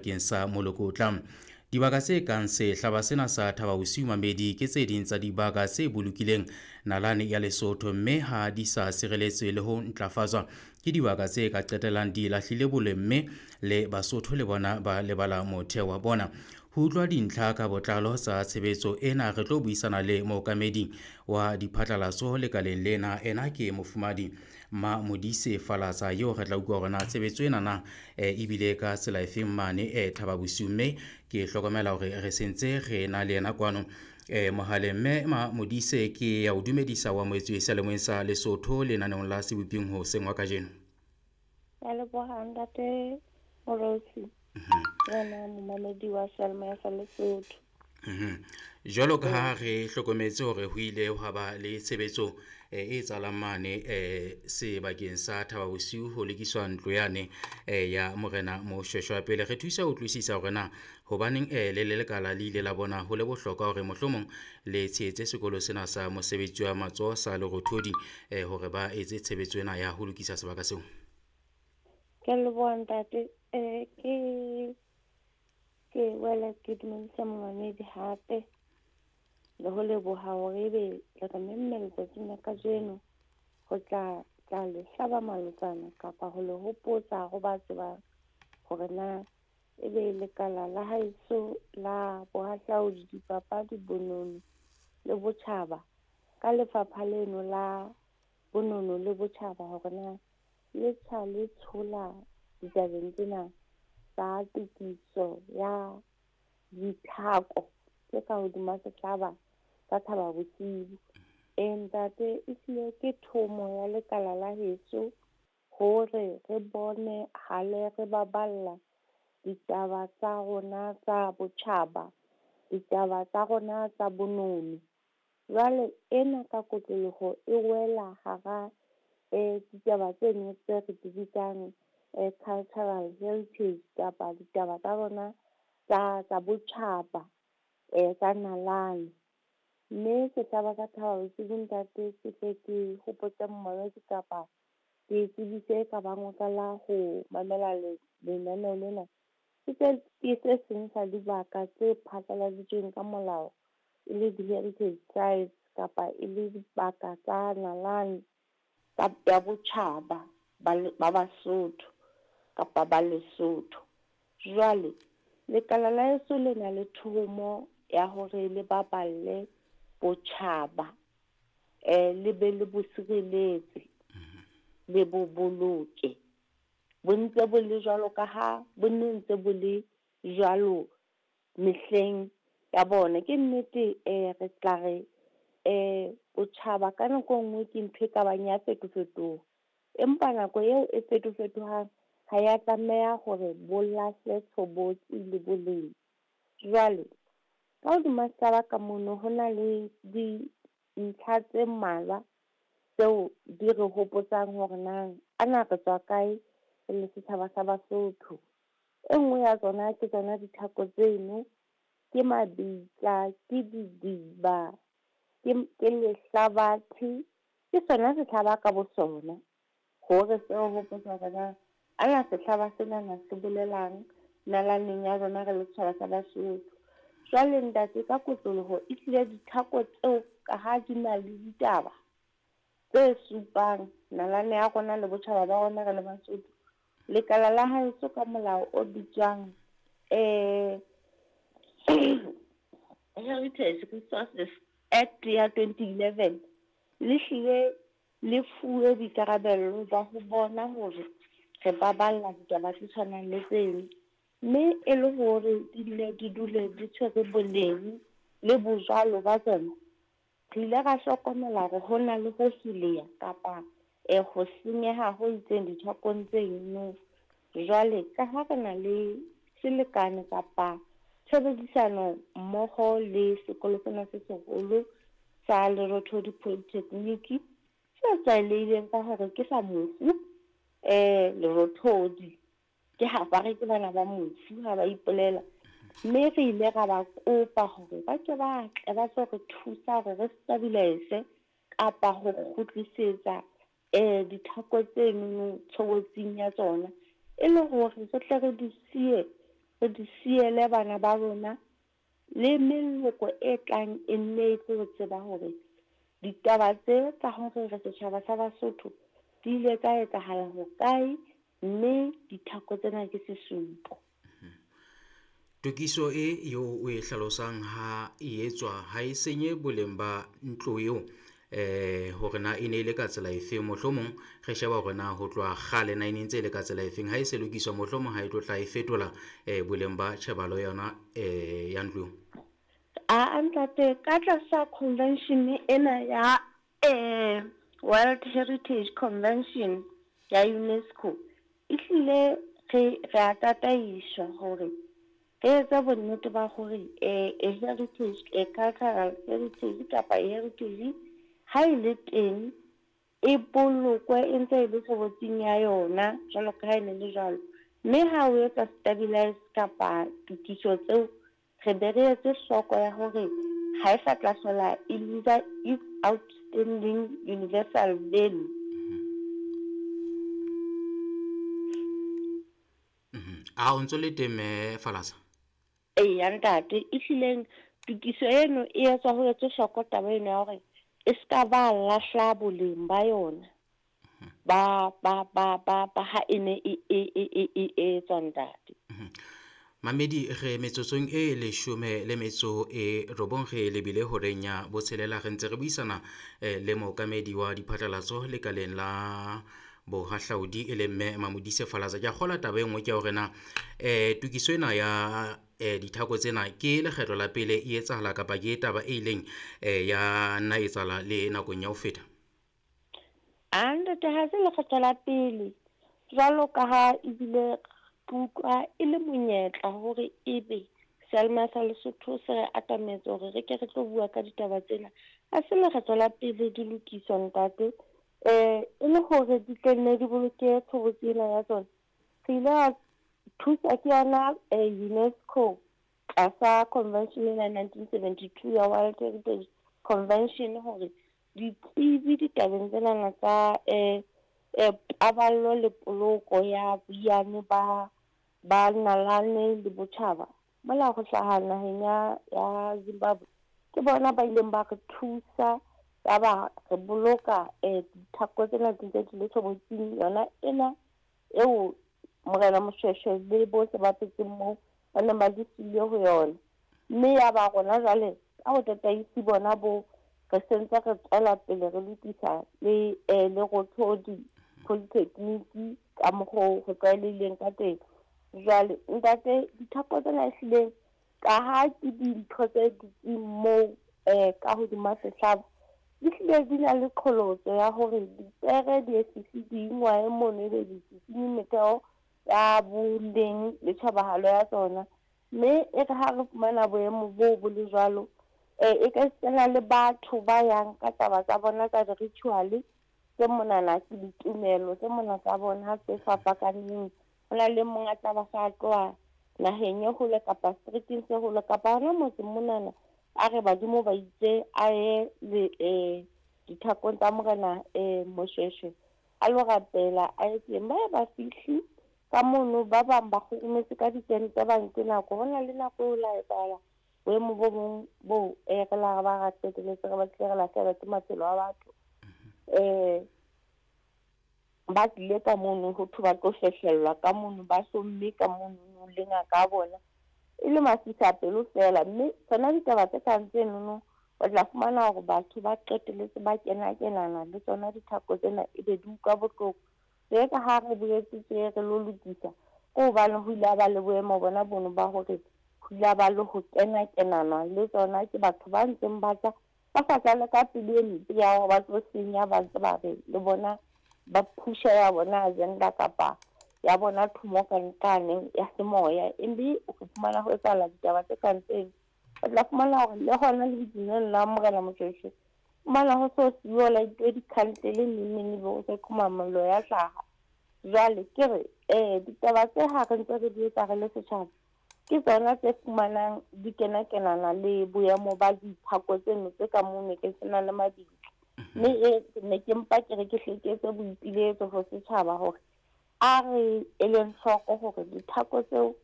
Bakeng sa moloko o tlang. Dibaka tse kang sehlaba sena sa Thaba Bosiu Mamedi ke tse ding tsa dibaka tse bolokileng nalane ya Lesotho mme ha di sa sireletswe le ho ntlafatswa ke dibaka tse ka qetellang di lahlile boleng mme le Basotho le bona ba lebala motheo wa bona. Ho utlwa dintlha ka botlalo tsa tshebetso ena re tlo buisana le mookamedi wa diphatlalatso lekaleng lena, ena ke Mofumadi Mamodise Falatsa eo re tla utlwa hore na tshebetso ena na ebile ka tsela efeng mane Thaba Bosiu, mme ke hlokomela hore re sentse re na le yena kwano mohaleng. Mme Mamodise, ke ya o dumedisa wa moetsuwe seyalemoyeng sa Lesotho lenaneong la Seboping hoseng wa kajeno. Ya leboha ntate Morosi. Wena momamedi wa seyalemoya sa Lesotho. Jwalo ka ha re hlokometse hore ho ile hwa ba le tshebetso e etsahalang mane sebakeng sa Thaba Bosiu ho lokiswa ntlo yane ya Morena Moshweshwe. Pele re thusa ho utlwisisa hore na hobaneng le le lekala le ile la bona ho le bohlokwa hore mohlomong le tshehetse sekolo sena sa mosebetsi wa matsoho sa Lerothodi hore ba etse tshebetso ena ya ho lokisa sebaka seo. Ke leboha ntate. Ke wela ke dumedisa momamedi hape le ho leboha hore ebe le re memme letsatsing la kajeno ho tla tla le hlaba malotsana kapa ho le hopotsa ho ba tsebang hore na ebe lekala la haeso la bohahlaudi, dipapadi, bonono le botjhaba ka lefapha leno la bonono le botjhaba hore na le tjha le tshola ditabeng tsena tsa tokiso ya dithako tse ka hodima sehlaba sa Thaba Bosiu. Ntate, ehlile ke thomo ya lekala la heso hore re bone hale re baballa ditaba tsa rona tsa botjhaba, ditaba tsa rona tsa bonono. Jwale ena ka kotloloho e wela hara ditaba tseno tse re di bitsang cultural heritage kapa ditaba tsa rona tsa botjhaba tsa nalane. Mme sehlaba sa Thaba Bosiu ntate, ke tle ke hopotse momamedi kapa ke tsebise ka bang o qala ho mamela lenaneo lena. Ke se seng sa dibaka tse phatlaladitsweng ka molao e le di-heritage sites kapa e le dibaka tsa nalane ya botjhaba ba Basotho kapa ba Lesotho. Jwale lekala la heso le na le thomo ya hore le baballe botjhaba, le be le bo sireletse, le bo boloke. Bo ntse bo le jwalo ka ha bo ne ntse bo le jwalo mehleng ya bona. Ke nnete re tla re botjhaba ka nako e nngwe ke ntho e ka bang ya fetofetoha, empa nako eo e fetofetohang ha ya tlameha hore bo lahle tshobotsi le boleng. Jwale ka hodima sehlaba ka mono ho na le dintlha tse mmalwa tseo di re hopotsang hore na ana re tswa kae re le setjhaba sa Basotho. E nngwe ya tsona ke tsona dithako tseno, ke mabitla, ke didiba, ke lehlabathe, ke sona sehlaba ka bo sona. Hore se re hopotsa hore na ana sehlaba senana se bolelang nalaneng ya rona re le setjhaba sa Basotho. Jwale ntate, ka kotloloho ehlile dithako tseo ka ha di na le ditaba tse supang nalane ya rona le botjhaba ba rona re le Basotho, lekala la haeso ka molao o bitswang Heritage Resources Act ya 2011 le hlile le fuwe boikarabello ba ho bona hore re baballa ditaba tse tshwanang le tseno, mme e le hore di nne di dule di tshwere boleng le bojwalo ba tsona. Re ile ra hlokomela hore ho na le ho heleya kapa ho senyeha ho itseng dithakong tseno. Jwale ka ha re na le selekane kapa tshebedisano mmoho le sekolo sena se seholo sa Lerothodi Polytechnic se tlwaelehileng ka hore ke sa mofu Lerothodi, ke ha ba re ke bana ba mofu ha ba ipolela. Mme re ile ra ba kopa hore ba ke ba tle ba tlo re thusa hore re stabilize kapa ho kgutlisetsa dithako tseno tshobotsing ya tsona, e le hore re tle re di siye re di siele bana ba rona le meloko e tlang e nne e tlo tseba hore ditaba tse tsa hore re setjhaba sa Basotho di ile tsa etsahala hokae, mme dithako tsena ke sesupo. Tokiso e eo o e hlalosang ha e etswa ha e senye boleng ba ntlo eo, hore na e ne e le ka tsela efeng. Mohlomong re sheba hore na ho tloha kgale na e ne ntse e le ka tsela efeng. Ha e se lokiswa mohlomong ha e tlo tla e fetola boleng ba tjhebalo yona ya ntlo. Aa ntate, ka tlasa convention ena ya World Heritage Convention ya UNESCO, ehlile re a tataiswa hore re etse bonnete ba hore a heritage, a cultural heritage kapa a heritage ha e le teng e bolokwe e ntse e le tshobotsing ya yona jwalo ka ha e ne le jwalo. Mme ha o etsa stabilize kapa tokiso tseo, re be re etse hloko ya hore ha e sa tla hlola e lose its outstanding universal value. A o ntso le teng mme Falatsa? Eya ntate, ehlileng tokiso eno e etswa ho etswe hloko taba eno ya hore e ska ba lahla boleng ba yona ba ba ba ba ba ha e ne e e e e e etswa ntate. Mamedi, re metsotsong e 19 re lebile horeng ya 6, re ntse re buisana le mookamedi wa diphatlalatso lekaleng la bohahlaudi e leng mme Mamodise Falatsa. Ke a kgolwa taba e nngwe ke hore na tokiso ena ya dithako tsena ke lekgetlo la pele e etsahala kapa ke taba e ileng ya nna etsahala le nakong ya ho feta? A ntate, ha se lekgetlo la pele, jwalo ka ha ebile ke utlwa e le monyetla hore ebe seyalemoya sa Lesotho se re atametse hore re ke re tlo bua ka ditaba tsena. Ha se lekgetlo la pele di lokiswa ntate, e le hore di tlo nne di boloke tshobotsi ena ya tsona. Re ile ra thusa ke yona UNESCO tlasa convention ena ya 1972 ya World Heritage Convention hore ditsebi ditabeng tsenana tsa paballo le poloko ya boiyane ba ba nalane le botjhaba mola ho hlaha naheng ya Zimbabwe, ke bona ba ileng ba re thusa ya ba re boloka dithako tsena di ntse di le tshobotsing yona ena eo Morena Moshoeshoe le bohle ba phetseng moo ba neng ba di siile ho yona. Mme ya ba rona jwale ka ho tataisi bona bo re sentse re tswela pele re lokisa le Lerothodi Polytechnic ka mokgo ho tlwaelehileng ka teng. Jwale ntate, dithako tsena ehlileng ka ha ke dintho tse dutseng moo ka hodima sehlaba, di hlile di na le qholotso ya hore dipere di e fihle di ingwae mono, ebe di sisinye metheo ya boleng le tjhebahalo ya tsona. Mme e re ha re fumana boemo boo bo le jwalo, e ka sena le batho ba yang ka taba tsa bona tsa di-ritual tse monana, ke ditumelo tse mona tsa bona tse fapakaneng. Ho na le mong a tla ba sa tloha naheng e hole kapa streeteng se hole kapa hona motseng monana, a re badimo ba itse a ye le dithakong tsa Morena Moshoeshoe a lo rapela, a ye teng. Ba ye ba fihle ka mono, ba bang ba kgurumetse ka ditente, ba nke nako. Ho na le nako eo la etsahala boemo bo bong bo re la re ba ra qeteletse re batlile re lahlehelwa ke maphelo a batho. Ba tlile ka mono ho thwe ba tlo fehlellwa ka mono, ba hlomme ka mono le ngaka ya bona e le masisapelo feela. Mme tsona ditaba tse kang tsenono o tla fumana hore batho ba qeteletse ba kena-kenana le tsona dithako tsena, ebe di utlwa bohloko. Tje ka ha re boetse tje re lo lokisa, ke hobane ho ile ha ba le boemo bona bono ba hore ho ile ha ba le ho kena-kenana le tsona ke batho ba ntseng ba tla ba sa tla le ka pelo e mpe ya hore ba tlo senya, ba ntse ba re le bona ba phusha ya bona agenda kapa ya bona thomo ka nqane ya semoya. Embe o fumana ho etsahala ditaba tse kang tseno. O tla fumana hore le hona le lebitleng la Morena Moshoeshoe, fumana ho so siyo laituwe dikhandlele neng neng, ebe o se qhoma mollo ya hlaha. Jwale ke re ditaba tse ha re ntse re di etsa re le setjhaba, ke tsona tse fumanang di kena-kenana le boemo ba dithako tseno tse ka mono ke sena le mabitla. Mme ne ke mpa ke re ke hle ke etse boipiletso ho setjhaba hore a re eleng hloko hore dithako tseo